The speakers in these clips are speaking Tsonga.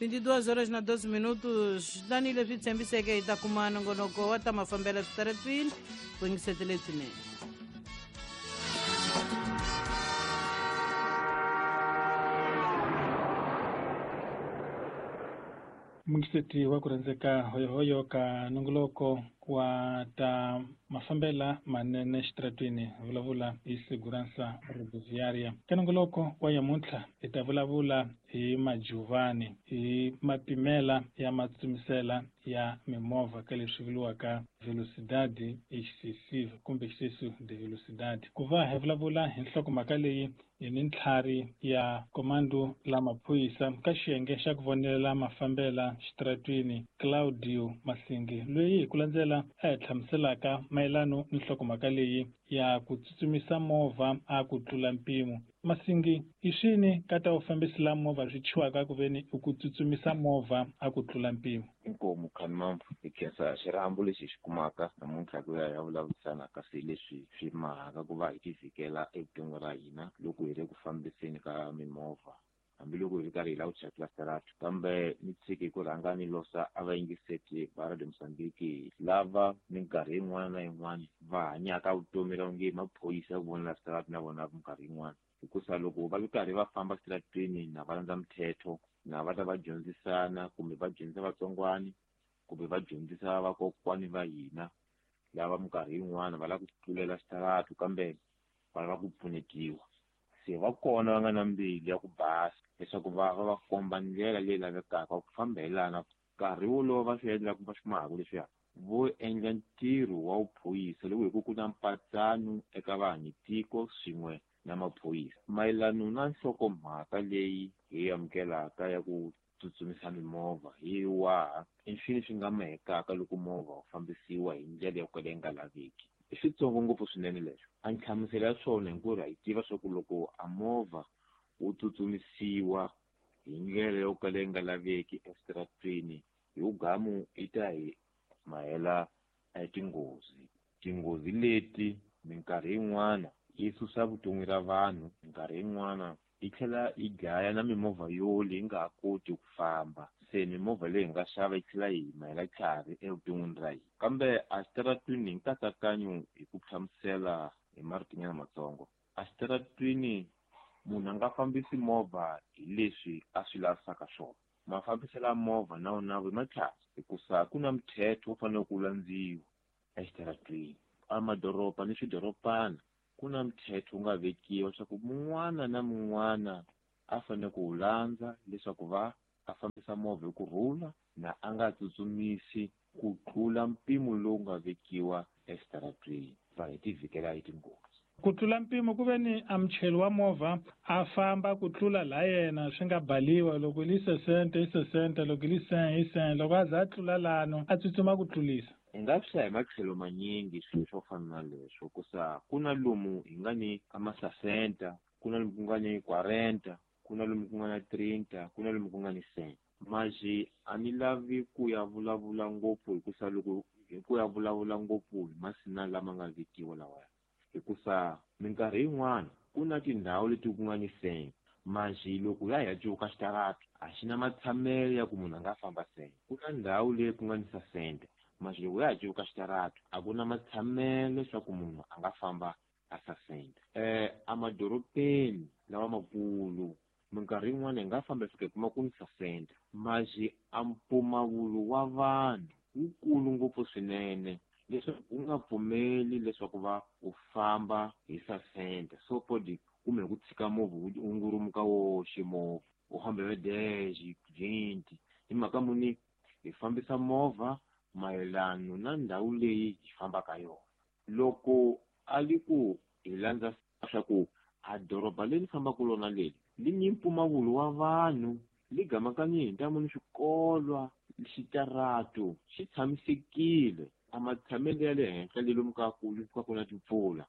22 horas na 12 minutos. Tanihi leswi tshembiseke hi ta kuma nongonoko wa ta mafambelo switaratwini ku yingisetele swinene. Mungiseti wa ku rhandzeka hoyohoyo ka nongoloko wa ta mafambela manene xitaratwini vulavula hi segurança rodoviária. Ka nongoloko wa yamuntlha hi ta vulavula hi majuvani, hi mapimela ya matsutsumisela ya mimovha ka leswi vuriwaka velocidade excessive kumbe excesso de velocidade. Ku va hi vulavula hi nhlokomhaka leyi hi ni ntlhari ya komando la maphorisa ka xiyenge xa ku vonelela mafambela xitaratwini Claudio Masingi, loyi hi ku landzela a hi hlamuselaka mayelano ni nhlokomhaka leyi ya ku tsutsumisa movha a ku tlula mpimo. Masingi, i swini ka ta vufambisi la movha swi chiwaka ku veni i ku tsutsumisa movha a ku tlula mpimo? Inkomu Khanimambu, hi khensa xirhambo lexi hi xi kumaka namuntlha ku ya hi ya vulavurisana ka swilo leswi swi mahaka ku va hi tivhikela evuton'wini ra hina loko hi ri ku fambiseni ka mimovha, hambiloko hi ri karhi hi lava ku chayela switarata. Kambe ni tshiki ku rhanga ni losa a vayingiseti va Radio Mozambique lava minkarhi yin'wana na yin'wana va hanyaka vutomi ra onge maphorisa ya ku vonela switarata na vona minkarhi yin'wana, hikusa loko va ri karhi va famba switarateni na va landza mithetho, na va ta va dyondzisana kumbe va dyondzisa vatsongwani kumbe va dyondzisa vakokwani va hina lava minkarhi yin'wana va lava ku tlulela switarata kambe va lava ku pfunetiwa. Se va kona va nga na mbilu ya ku basa leswaku va va va komba ndlela leyi lavekaka ku famba hi lana. Nkarhi wolowo va swi endlaka va swi mahaka leswiya vo endla ntirho wa vuphorisa loko hi ku ku na mpatsano eka vanhu tiko swin'we na maphorisa. Mayelano na nhlokomhaka leyi hi amukelaka ya ku tsutsumisa mimovha hi waha i swilo swi nga mahekaka loko movha wu fambisiwa hi ndlela yo kala yi nga laveki. I switsongo ngopfu swinene leswo. A nhlamuselo ya swona hinkwerhu ha yi tiva swa ku loko a movha wu tsutsumisiwa hi ndlela yo kala yi nga laveki eswitarateni, hi wugamu yi ta hi mahela tinghozi. Tinghozi leti minkarhi yin'wana yi susa vutomi ra vanhu, minkarhi yin'wana yi tlhela yi dlaya na mimovha yo leyi nga ha koti ku famba. Se mimovha leyi hi nga xava yi tlhela yi mahela tlhari evuton'wini ra hina. Kambe a xitaratwini hi nkatsakanyo hi ku hlamusela hi maritinyana matsongo, a xitaratwini munhu a nga fambisi movha hi leswi a swi lavisaka swona. Mafambiselo ya movha na wona i matlhari, hikusa ku na muthetho wu fanele ku landziwa exitaratwini. A madoroba ni swidorobana ku na muthetho wu nga vekiwa leswaku mun'wana na mun'wana a fanele ku wu landza leswaku va a fambisa movha hi kurhula na a nga tsutsumisi ku tlula mpimo lowu nga vekiwa exitaratwini, va hi tivhikela hi tinghozi. Ku tlula mpimo ku ve ni a muchayeri wa movha a famba ku tlula la yena swi nga baliwa, loko li sesente i sesente, loko li sen i sen, loko a za a tlula lano a tsutsuma ku tlulisa. Hi nga swi hlaya hi matlhelo manyingi swilo swo fana na leswo, hikusa ku na lomu hi nga ni a masasenta, ku na lomu ku nga ni 40, ku na lomu ku nga na 30, ku na lomu ku nga ni 100. Maji a ni lavi ku ya vulavula ngopfu hikusa loko hi ku ya vulavula ngopfu hi masina lama nga vekiwa lawaya, hikusa minkarhi yin'wana ku na tindhawu leti ku nga ni 100, maji loko ya hi ya cuvuka xitarata a xi na matshamelo ya ku munhu a nga famba 100. Ku na ndhawu leyi ku nga ni 60, maji loko ya ha cuvuka xitarata a ku na matshamelo leswaku munhu a nga famba a 60. Emadorobeni lawa makulu minkarhi yin'wana hi nga famba hi fika hi kuma ku ni 60, maji a mpfumawulo wa vanhu wukulu ngopfu swinene leswaku wu nga pfumeli leswaku va u famba hi 60. So podi kumbe ku tshika movha wu ngurumuka woxe movha u famba hi 10 20, hi mhaka muni hi fambisa movha mayelano na ndhawu leyi hi fambaka yona. Loko a li ku hi landza swa ku a doroba leri fambaka lona leri li ni mpfumawulo wa vanhu, li gamakanye hi ntamu ni swikolwa, xitarato xi tshamisekile, a matshamelo ya le henhla le lomu ka ku ka ku na timpfula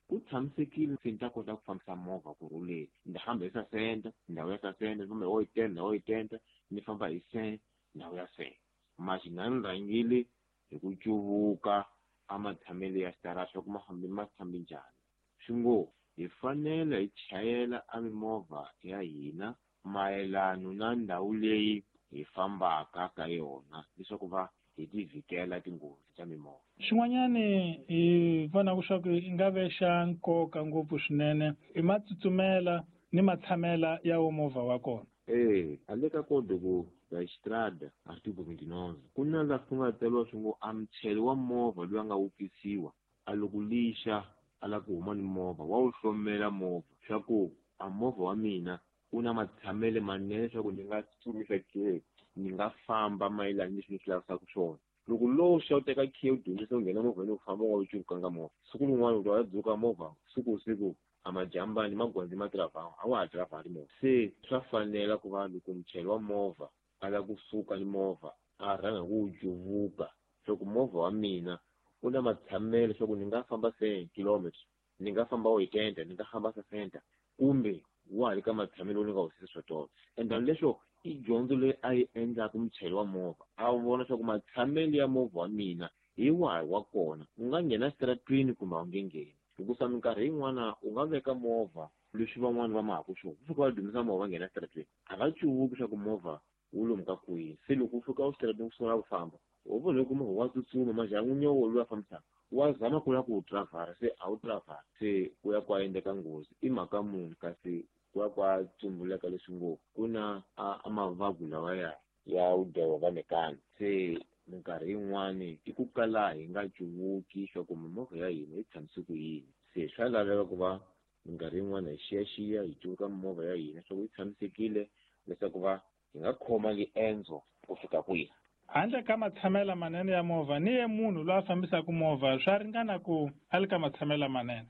ku tshamisekile, se ni ta kota ku fambisa movha kurhuleni. Ni ta famba hi 60, ndhawu ya 60, ni famba hi 80, ndhawu ya 80, ni famba hi 100, ndhawu ya 100. Maji na ni rhangile hi ku cuvuka a matshamelo ya xitarata swa ku ma fambi ma fambi njhani. Swi ngo hi fanele hi chayela a mimovha ya hina mayelano na ndhawu leyi hi fambaka ka yona leswaku va hi ti vhikela tinghozi ta mimovha. Xin'wanyani hi vonaka swa ku i nga ve xa nkoka ngopfu swinene i matsutsumela ni matshamela ya wo movha wa kona. E a le ka Código da Estrada artigo 29 ku na laha ku nga tsariwa swi ngo a muchayeri wa movha loyi a nga wupfisiwa a loko lixa a lava ku huma ni movha wa wu hlomela movha swa ku a movha wa mina wu na matshamelo manene leswaku ni nga tsutsumisa ke ni nga famba mayelana ni leswi ni swi lavisaka swona. Loko lowu xa u teka khiya u dyondzisa u nghena movheni u famba u nga wu cukanga movha, siku rin'wana u ta ya dzuka movha siku siku a majambani magwandzi ma tiravha a wa ha tiravhari movha. Se swa fanela ku va loko muchayeri wa movha a lava kusuka ni movha a rhanga hi ku wu cuvuka swa ku movha wa mina wu na matshamelo leswaku ni nga famba 100 kilometers, ni nga famba 80, ni nga famba 60, kumbe wa ha ri ka matshamelo ni nga wu swa tolo. And then leswo i dyondzo leyi a yi endlaka muchayeri wa movha, a vona leswaku matshamelo ya movha wa mina hi wahi wa kona, u nga nghena exitarateni kumbe a wu nge ngheni. Hikusa minkarhi yin'wana u nga veka movha leswi van'wani va mahaku swona, ku fika va dumisa movha va nghena exitarateni, a va cuvuki leswaku movha wu lomu ka kwihi. Se loko u fika exitarateni u sungula ku famba, u vona loko movha wa tsutsuma majha n'winyi loyi a fambisaka wa zama ku lava ku wu tiravhara, se a wu tiravhari, se ku ya ku ya endleka nghozi. I mhaka muni kasi ku ya ku ya tsumbuleka leswi ngo ku na a mavabyi lawa ya vugevenga mekani. Se minkarhi yin'wani i ku kala hi nga cuvuki swa ku mimovha ya hina yi tshamise ku yini. Se swa laveka ku va minkarhi yin'wana hi xiyaxiya hi cuvuka mimovha ya hina swa ku yi tshamisekile leswaku va hi nga khoma riendzo ku fika kwihi. Handle ka matshamela manene ya movha ni ye munhu loyi a fambisaka movha swa ringana ku a li ka matshamela manene.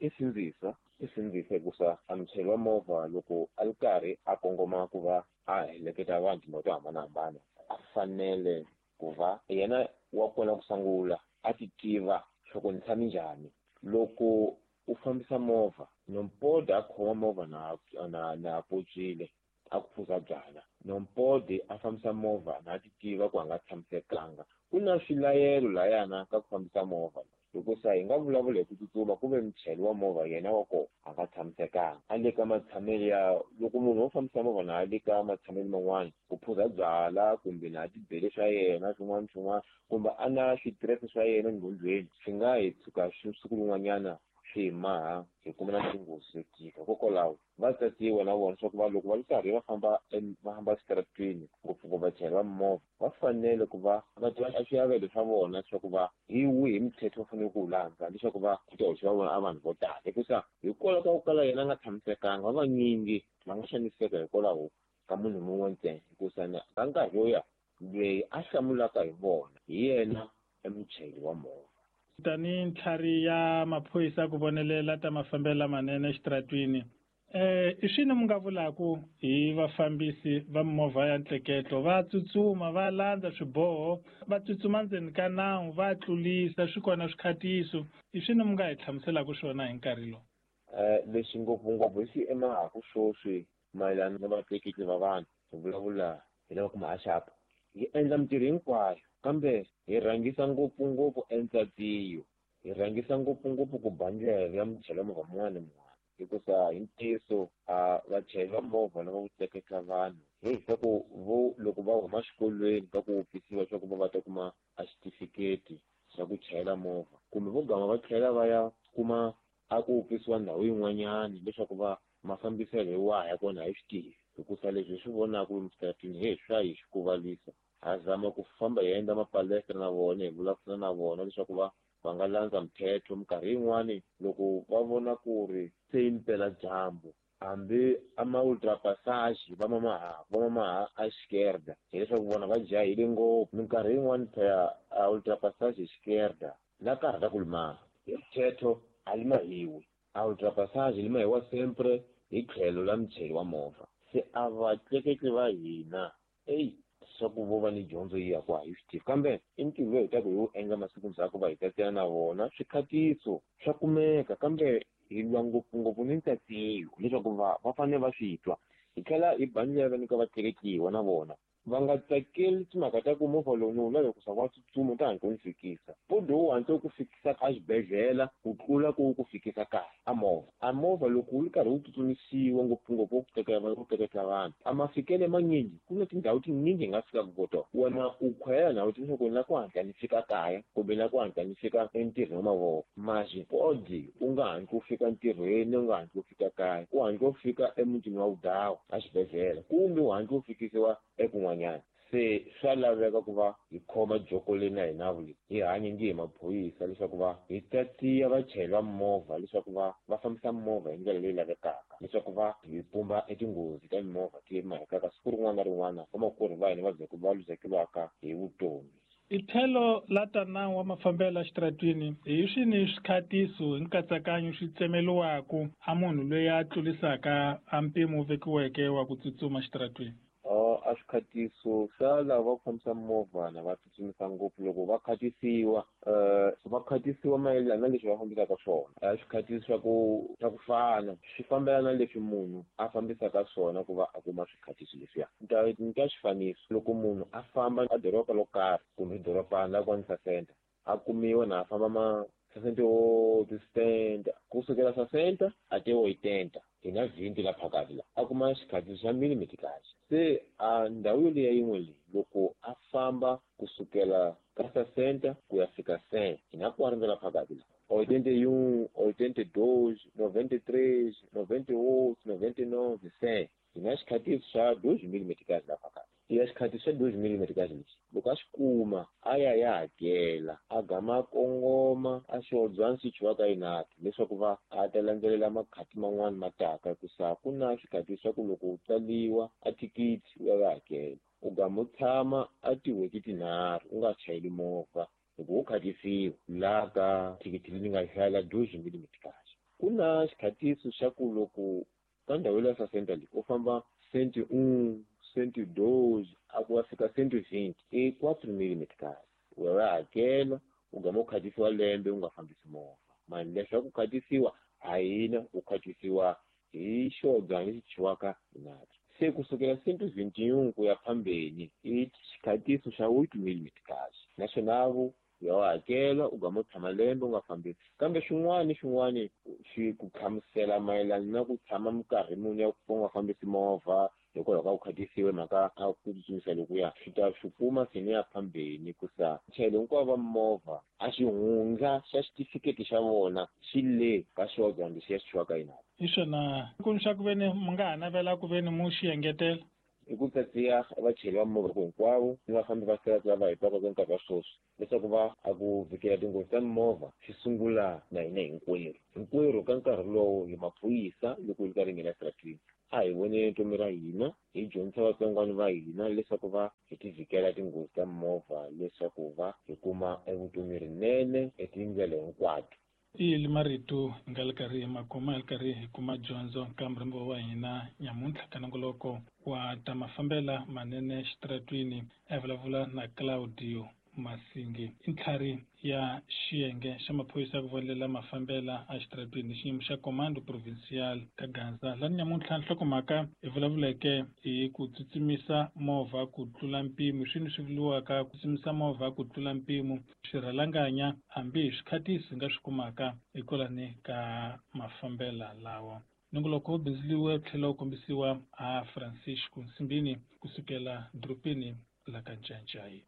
I sindzisa hikusa a muchayeri wa movha loko a ri karhi a kongoma ku va a heleketa vanhu tindhawu to hambanahambana, a fanele ku va yena wa kona ku sungula a ti tiva swa ku ni tshame njhani. Loko u fambisa movha nompode a khoma movha na potswile a ku phuza byala, nompode a fambisa movha na ti tiva ku a nga tshamisekanga. Ku na swilayelo layana ka ku fambisa movha, hikusa hi nga vulavula hi ku tsutsuma ku ve muchayeri wa movha yena wa kona a nga tshamisekanga, a le ka matshamelo ya loko munhu wo fambisa movha na a le ka matshamelo man'wana ku phuza byala kumbe na tibele swa yena swin'wana swin'wana kumbe a na switirese swa yena enghondweni, swi nga hi tshuka siku rin'wanyana swi hi maha hi kuma na tinghozi to tika. Hikokwalaho va tatiwa na vona swa ku va loko va ri karhi va famba va famba exitarateni ngopfungopfu vachayeri va mimovha va fanele ku va va tiva swiavelo swa vona leswaku va hi wihi muthetho va fanele ku wu landza leswaku va ku ta hoxa va vona a vanhu vo tala. Hikusa hikwalaho ka ku kala yena a nga tshamisekanga, va vanyingi va nga xaniseka hikwalaho ka munhu mun'we ntsena. Hikusa ka nkarhi loya loyi a hlamulaka hi vona hi yena emuchayeri wa movha. Tanihi ntlhari ya maphorisa ku vonelela ta mafambelo lamanene exitarateni, i swini mi nga vulaku hi vafambisi va mimovha ya ntleketlo? Va tsutsuma va landza swiboho, va tsutsuma ndzeni ka nawu, va tlulisa, swi kona swikhatiso. I swini mi nga hi hlamuselaka swona hi nkarhi lowu? Lexi ngopfungopfu hi xi emahaku sweswi mayelana na vatleketli va vanhu, hi vulavula hi lava ku mahaxapa. Hi endla mintirho hinkwayo kambe hi rhangisa ngopfungopfu entsatsiyo, hi rhangisa ngopfungopfu ku ba ndlela ya muchayeri wa movha mun'wana na mun'wana. Hikusa hi ntiyiso a vachayeri va movha lava ku tleketla vanhu hi leswaku vo loko va huma xikolweni ka ku wupfisiwa leswaku va va ta kuma a xitifiketi xa ku chayela movha, kumbe vo gama va tlhela va ya kuma a ku wupfisiwa ndhawu yin'wanyani leswaku va mafambiselo hi wahi ya kona hi swi tivi. Hikusa leswi hi swi vonaka lomu xitarateni he swa hi xikuvalisa. Ha zama ku famba hi endla mapalestra na vona, hi vulavurisana na vona leswaku va nga landza mthetho. Minkarhi yin'wani loko va vona ku ri se yi mpela dyambu, hambi a ma ultrapassage va mamaha va mamaha a esquerda, hileswaku vona va jahile ngopfu. Minkarhi yin'wani phela a ultrapassage esquerda na karhata ku limaha hi mthetho a limahiwi, a ultrapassage limahiwa sempre hi tlhelo la muchayeri wa movha. Se a vatleketli va hina eyi swa ku vo va ni dyondzo yi ya ku a hi swi tivi, kambe i ntirho lowu hi taka hi wu endla masiku ndzhaku va hi tatela na vona swikhatiso swa kumeka, kambe hi lwa ngopfungopfu ni ntsatsiyo leswaku va fanele va swi twa. Hi tlhela hi ba ndlela nyika vatleketliwa na vona. Va nga tsakeli timhaka ta ku movha lowu ni wu lava ku wa tsutsuma ta hatla wu ni fikisa. Podi wu hatla wu ku fikisa a xibedhlele ku tlula ku wu ku fikisa kaya a movha. A movha loko wu ri karhi wu tsutsumisiwa ngopfungopfu ku teka ku tleketla vanhu a mafikelo manyingi ku na tindhawu tinyingi hi nga fikaka ko tona. Wena u khwela na u leswaku ni lava ku hatla ni fika kaya kumbe ni lava ku hatla ni fika entirhweni wa mavoko. Masi podi u nga hatli u fika ntirhweni u nga hatli u fika kaya u hatla u fika emutini wa vudawa a xibedhlele kumbe u hatla u fikisiwa ekun'wanyana. Se swa laveka ku va hi khoma joko leyi na hina leyi hi hanye nge hi maphorisa leswaku va hi tatiya vachayeri va mimovha leswaku va va fambisa mimovha hi ndlela leyi lavekaka leswaku va hi pumba etinghozi ta mimovha ti mahekaka siku rin'wana na rin'wana vamakwerhu va hina va va luzekeriwaka hi vutomi. I tlhelo la ta nawu wa mafambelo exitaratwini hi swini swikhatiso hi nkatsakanyo swi tsemeliwaku a munhu loyi a tlurisaka a mpimo wu vekiweke wa ku tsutsuma xitaratwini? A swikhatiso swa lava va ku fambisa mimovha na va tsutsumisa ngopfu loko va khatisiwa va khatisiwa mayelana na leswi va fambisaka swona. A swikhatiso swa ku fana swi fambelana na leswi munhu a fambisaka swona ku va a kuma swikhatiso leswiya. Ni ta xifaniso loko munhu a famba a doroba lo karhi kumbe dorobana la kwani Sasenta a kumiwa na a famba ma sessenta oito, 70, kusukela 60 até 80 hi na 20 la phakathi la a kuma xikhatiso xa millimeter. Se a ndhawu yoliya yin'we leyi loko a famba kusukela ka 60 ku ya fika 100 hi na 40 la phakathi la 81, 82, 93, 98, 99, 100 hi na xikhatiso xa 2 millimeter la phakathi. Ya xikhatiso xa 2 millimeter lexi loko a xi kuma a ya ya hakela a gama kongoma a xiodzwana xi chiwaka inati leswaku va a ta landzelela makhati man'wani ma taka hikusa ku na swikhatiso swa ku loko u tsaliwa a thikithi u ya ya hakela u gama u tshama a tin'hweti tinharhu u nga chayeli movha hikuva u khatisiwa laha ka thikithi leyi nga hlayela 2 millimeter. Ku na xikhatiso xa ku loko ka ndhawu ya Sasenta leyi u famba 101, 102 a ku ya fika 120 i 4 millimeter. U ya hakela u gama u khatisiwa lembe u nga fambisi movha. Mali leswaku khatisiwa a hina u khatisiwa hi xiodzwana lexi chiwaka inati. Se kusukela 121 ku ya phambeni i xikhatiso xa 8 millimeter. Naswona u ya hakela u gama u tshama lembe u nga fambisi. Kambe swin'wana ni swin'wana swi ku hlamusela mayelana na ku tshama minkarhi muni ya ku nga fambisi movha hikwalaho ka ku khatisiwe mhaka a ku tsutsumisa lokuya swi ta swi kuma seni ya phambeni kusa chayelo hinkwavo va mimovha a xihundla xa xitifiketi xa vona xi le ka xiodzwana lexiya xi chiwaka inati. Hi swona ku ni swa ku veni mi nga ha navela ku veni mu xi engetela i ku tsatsiya vachayeri va mimovha hinkwavo ni vafambi va sirata lava hi twaka ka nkarhi wa sweswi leswaku va a ku vhikela tinghozi ta mimovha swi sungula na hina hinkwerhu. Hinkwerhu ka nkarhi lowu hi maphorisa loko hi ri karhi hi nghena exitaratwini a hi voneni vutomi ra hina hi dyondzisa vatsongwana va hina leswaku va hi ti vhikela tinghozi ta mimovha leswaku va hi kuma evutomi rinene etindlela hinkwato. I marito hi nga ri karhi hi ma kuma hi ri karhi hi kuma dyondzo ka murhambiwa wa hina nyamuntlha ka nongoloko wa ta mafambela manene xitaratwini a vulavula na Claudio Masingi i ntlhari ya xiyenge xa maphorisa ya ku vonelela mafambela a xitaratwini xiyimo xa Comando Provincial ka Gaza. Lani nyamuntlha nhlokomhaka hi vulavuleke hi ku tsutsumisa movha ku tlula mpimo swini swi vuriwaka ku tsutsumisa movha ku tlula mpimo swirhalanganya hambi hi swikhatiso hi nga swi kumaka hikwalani ka mafambela lawa. Nongoloko wu bindzuriwe tlhela wu kombisiwa a Francisco Nsimbini kusukela dorobeni la ka Ncancai.